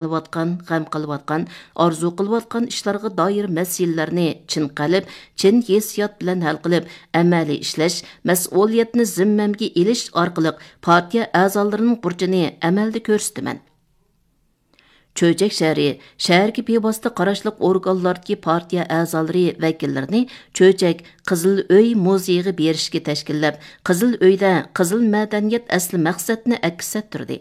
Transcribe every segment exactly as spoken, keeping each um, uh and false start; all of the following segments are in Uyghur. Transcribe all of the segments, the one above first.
قىلىۋاتقان، غەم قىلىۋاتقان، ئارزۇ قىلىۋاتقان ئىشلارغا دائىر مەسىلىلەرنى چىن قەلب، چىن ھېسسىيات بىلەن ھەل قىلىپ، ئەمەلىي ئىشلەش، مەسئۇلىيەتنى زىممەمگە ئېلىش ئارقىلىق پارتىيە ئەزالىرىنىڭ بۇرچىنى ئەمەلدە كۆرسىتىمەن. چۆچەك شەھىرى، شەھەرگە بىۋاسىتە قاراشلىق ئورگانلاردىكى پارتىيە ئەزالىرى، ۋەكىللىرىنى چۆچەك قىزىل ئۆي مۇزېيىغا بېرىشكە تەشكىللەپ، قىزىل ئۆيدە قىزىل مەدەنىيەت ئەسلى مەقسەتنى ئەكس ئەتتۈردى.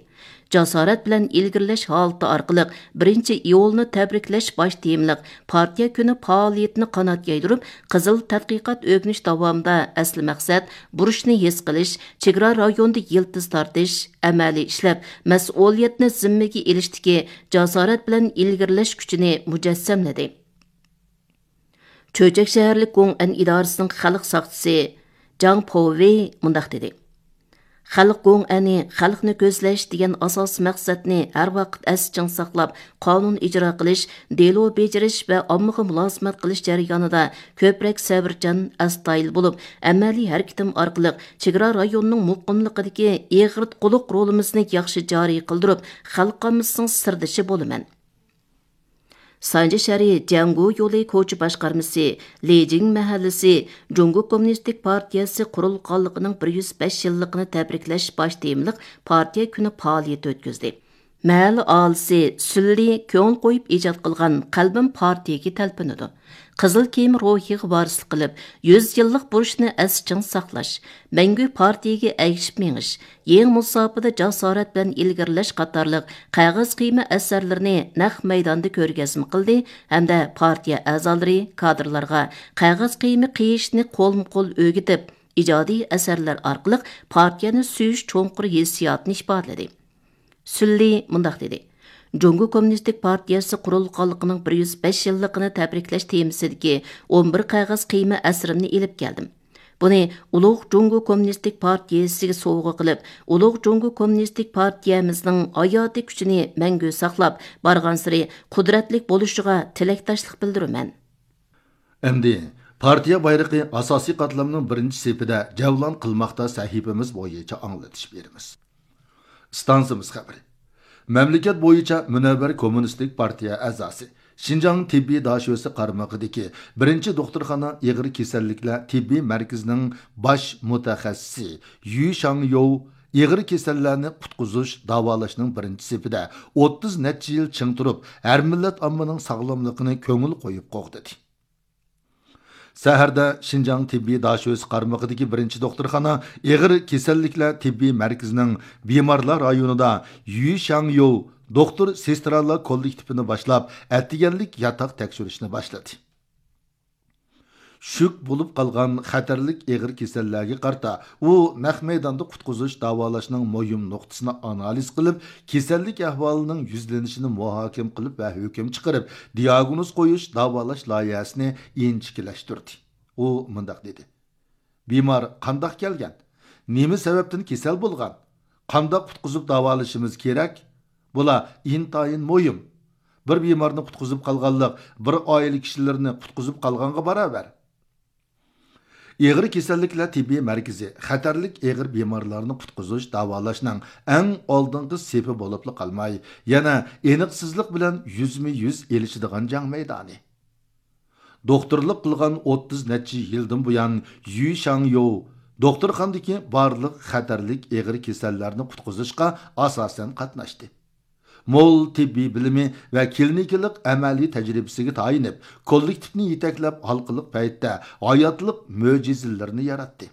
جاسارەت بىلەن ئىلگىرىلەش ھالىتى ئارقىلىق بىرىنچى ئىيۇلنى تەبرىكلەش باش تېمىلىق پارتىيە كۈنى پائالىيىتىنى قانات يايدۇرۇپ، قىزىل تەتقىقات ئۆگىنىش داۋامىدا ئەسلى مەقسەت، بۇرچنى ھېس قىلىش، چېگرا رايونىدا يىلتىز تارتىش، ئەمەلىي ئىشلەپ، مەسئۇلىيەتنى زىممىگە ئېلىشتىكى جاسارەت بىلەن ئىلگىرىلەش كۈچىنى مۇجەسسەملىدى. چۆچەك شەھەرلىك گوڭئەن ئىدارىسىنىڭ خەلق ساقچىسى جاڭ پوۋېي مۇنداق دېدى: خەلق گوڭئەنى خەلقنى كۆزلەش دېگەن ئاساسىي مەقسەتنى ھەر ۋاقىت ئەستە چىڭ ساقلاپ، قانۇن ئىجرا قىلىش، دېلو بېجىرىش ۋە ئاممىغا مۇلازىمەت قىلىش جەريانىدا كۆپرەك سەۋرچان، ئەستايىدىل بولۇپ، ئەمەلىي ھەرىكىتىم ئارقىلىق چېگرا رايونىنىڭ مۇقىملىقىدىكى ئېغىرتقۇلۇق رولىمىزنى ياخشى جارى قىلدۇرۇپ، خەلق ئاممىسىنىڭ سىردىشى بولىمەن. سانجى شەھىرى جياڭگو يولى كوچا باشقارمىسى لېجىڭ مەھەللىسى جۇڭگو كوممۇنىستىك پارتىيەسى قۇرۇلغانلىقىنىڭ بىر يۈز بەش يىللىقىنى تەبرىكلەش باش تېمىلىق پارتىيە كۈنى پائالىيىتى ئۆتكۈزدى. مەھەللە ئاھالىسى سۈنلى كۆڭۈل قويۇپ ئىجاد قىلغان قەلبىم پارتىيەگە تەلپۈنىدۇ، قىزىل كىيىم روھىغا ۋارىسلىق قىلىپ، يۈز يىللىق بۇرچنى ئەستە چىڭ ساقلاش، مەڭگۈ پارتىيەگە ئەگىشىپ مېڭىش، يېڭى مۇساپىدە جاسارەت بىلەن ئىلگىرىلەش قاتارلىق قەغەز قىيما ئەسەرلىرىنى نەق مەيداندا كۆرگەزمە قىلدى ھەمدە پارتىيە ئەزالىرى، كادىرلارغا قەغەز قىيما قىيىشنى قولمۇ قول ئۆگىتىپ، ئىجادىي ئەسەرلەر ئارقىلىق پارتىيەنى سۆيۈش چوڭقۇر ھېسسىياتىنى ئىپادىلىدى. سۈنلى مۇنداق دېدى: جۇڭگو كوممۇنىستىك پارتىيەسى قۇرۇلغانلىقىنىڭ بىر يۈز بەش يىللىقىنى تەبرىكلەش تېمىسىدىكى ئون بىر قەغەز قىيما ئەسىرىمنى ئېلىپ كەلدىم. بۇنى ئۇلۇغ جۇڭگو كوممۇنىستىك پارتىيەسىگە سوۋغا قىلىپ، ئۇلۇغ جۇڭگو كوممۇنىستىك پارتىيەمىزنىڭ ھاياتىي كۈچىنى مەڭگۈ ساقلاپ، بارغانسېرى قۇدرەتلىك بولۇشىغا تىلەكداشلىق بىلدۈرىمەن. ئەمدى پارتىيە بايرىقى ئاساسىي قاتلامنىڭ بىرىنچى سېپىدە جەۋلان قىلماقتا سەھىپىمىز بويىچە ئاڭلىتىش بېرىمىز. ئىستانسىمىز خەۋىرى. مەملىكەت بويىچە مۇنەۋۋەر كوممۇنىستىك پارتىيە ئەزاسى، شىنجاڭ تېببىي داشۆسى قارمىقىدىكى بىرىنچى دوختۇرخانا ئېغىر كېسەللىكلەر تېببىي مەركىزىنىڭ باش مۇتەخەسسىسى يۈ شاڭيوۋ ئېغىر كېسەللەرنى قۇتقۇزۇش، داۋالاشنىڭ بىرىنچى سېپىدە ئوتتۇز نەچچە يىل چىڭ تۇرۇپ، ھەر مىللەت ئاممىنىڭ ساغلاملىقىنى كۆڭۈل قويۇپ قوغدىدى. سەھەردە شىنجاڭ تېببىي داشۆسى قارمىقىدىكى بىرىنچى دوختۇرخانا ئېغىر كېسەللىكلەر تېببىي مەركىزىنىڭ بىمارلار رايونىدا يۈ شاڭيوۋ دوختۇر سېسترالار كوللېكتىپىنى باشلاپ، ئەتىگەنلىك ياتاق تەكشۈرۈشنى باشلىدى. شۈك بولۇپ قالغان خەتەرلىك ئېغىر كېسەللەرگە قارىتا، ئۇ نەق مەيداندا قۇتقۇزۇش داۋالاشنىڭ مۇھىم نۇقتىسىنى ئانالىز قىلىپ، كېسەللىك ئەھۋالىنىڭ يۈزلىنىشىنى مۇھاكىمە قىلىپ ۋە ھۆكۈم چىقىرىپ، دىياگنوز قويۇش، داۋالاش لايىھەسىنى ئىنچىكىلەشتۈردى. ئۇ مۇنداق دېدى: بىمار قانداق كەلگەن؟ نېمە سەۋەبتىن كېسەل بولغان؟ قانداق قۇتقۇزۇپ داۋالىشىمىز كېرەك؟ بۇلار ئىنتايىن مۇھىم. بىر بىمارنى قۇتقۇزۇپ قالغانلىق بىر ئائىلە كىشىلىرىنى قۇتقۇزۇپ قالغانغا باراۋەر. ئېغىر كېسەللىكلەر تېببىي مەركىزى خەتەرلىك ئېغىر بىمارلارنى قۇتقۇزۇش، داۋالاشنىڭ ئەڭ ئالدىنقى سېپى بولۇپلا قالماي، يەنە ئېنىقسىزلىق بىلەن يۈزمۇ يۈز ئېلىشىدىغان جەڭ مەيدانى. دوختۇرلۇق قىلغان ئوتتۇز نەچچە يىلدىن بۇيان، يۈ شاڭيوۋ دوختۇرخانىدىكى بارلىق خەتەرلىك ئېغىر كېسەللەرنى قۇتقۇزۇشقا ئاساسەن قاتناشتى. مول تېببىي بىلىمى ۋە كلىنىكىلىق ئەمەلىي تەجرىبىسىگە تايىنىپ، كوللېكتىپنى يېتەكلەپ، ھالقىلىق پەيتتە ھاياتلىق مۆجىزىلىرىنى ياراتتى.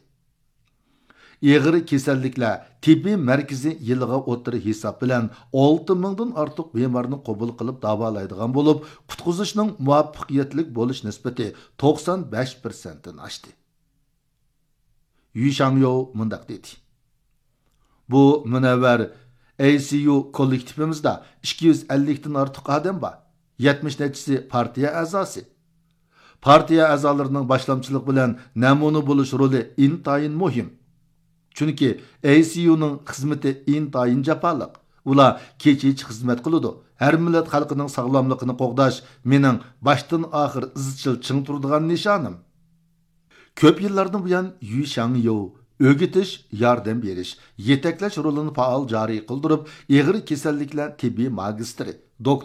ئېغىر كېسەللىكلەر تېببىي مەركىزى يىلىغا ئوتتۇرا ھېساب بىلەن ئالتە مىڭدىن ئارتۇق بىمارنى قوبۇل قىلىپ داۋالايدىغان بولۇپ، قۇتقۇزۇشنىڭ مۇۋەپپەقىيەتلىك بولۇش نىسبىتى توقسان بەش پىرسەنتتىن ئاشتى. يۈ شاڭيوۋ مۇنداق دېدى: بۇ مۇنەۋۋەر ئەي سى يۇ كوللېكتىپىمىزدا ئىككى يۈز ئەللىكتىن ئارتۇق ئادەم بار. يەتمىش نەچچىسى پارتىيە ئەزاسى. پارتىيە ئەزالىرىنىڭ باشلامچىلىق بىلەن نەمۇنە بولۇش رولى ئىنتايىن مۇھىم. چۈنكى ئەي سى يۇنىڭ خىزمىتى ئىنتايىن جاپالىق. ئۇلار كېچىچە خىزمەت قىلىدۇ. ھەر مىللەت خەلقىنىڭ ساغلاملىقىنى قوغداش مېنىڭ باشتىن ئاخىر ئىزچىل چىڭ تۇرىدىغان نىشانىم. كۆپ يىللاردىن بۇيان يۈ شاڭيوۋ ئۆگىتىش، ياردەم بېرىش، يېتەكلەش رولىنى پائال جارى قىلدۇرۇپ، ئېغىر كېسەللىكلەر تېببىي ماگىستىرى، دوكتور